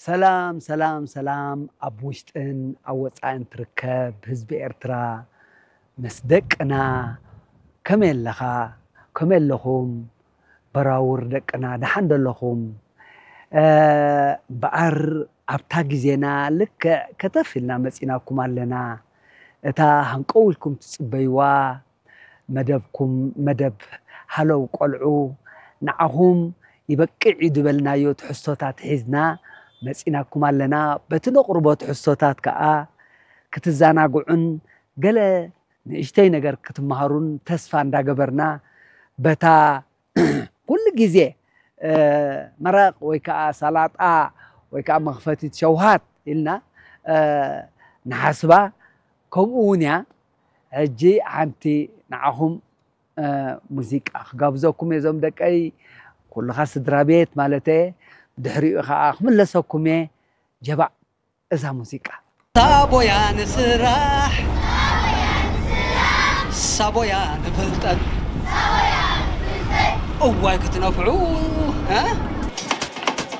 ሰላም ሰላም ሰላም፣ ኣብ ውሽጥን ኣብ ወፃእን ትርከብ ህዝቢ ኤርትራ፣ ምስ ደቅና፣ ከመይ ኣለኻ? ከመይ ኣለኹም? በራውር ደቅና፣ ደሓን ዶ ኣለኹም? እምበኣር ኣብታ ግዜና ልክዕ ከተፍ ኢልና መፂናኩም ኣለና። እታ ሃንቀው ኢልኩም ትፅበይዋ መደብኩም፣ መደብ ሃለው ቆልዑ፣ ንዓኹም ይበቅዕ እዩ ዝበልናዮ ትሕዝቶታት ሒዝና መፂናኩም ኣለና። በቲ ነቕርቦ ትሕዝቶታት ከዓ ክትዘናግዑን ገለ ንእሽተይ ነገር ክትመሃሩን ተስፋ እንዳገበርና፣ በታ ኩሉ ግዜ መረቕ ወይ ከዓ ሰላጣ ወይ ከዓ መኽፈቲት ሸውሃት ኢልና ንሓስባ፣ ከምኡ እውን እያ። ሕጂ ሓንቲ ንዓኹም ሙዚቃ ክጋብዘኩም እየ፣ እዞም ደቀይ፣ ኩልኻ ስድራ ቤት ማለት እየ። ብድሕሪኡ ከዓ ክምለሰኩም እየ። ጀባእ እዛ ሙዚቃ። ሳቦያ ንስራሕ፣ ሳቦያ ንፍልጠት፣ እዋይ ክትነፍዑ፣ እ?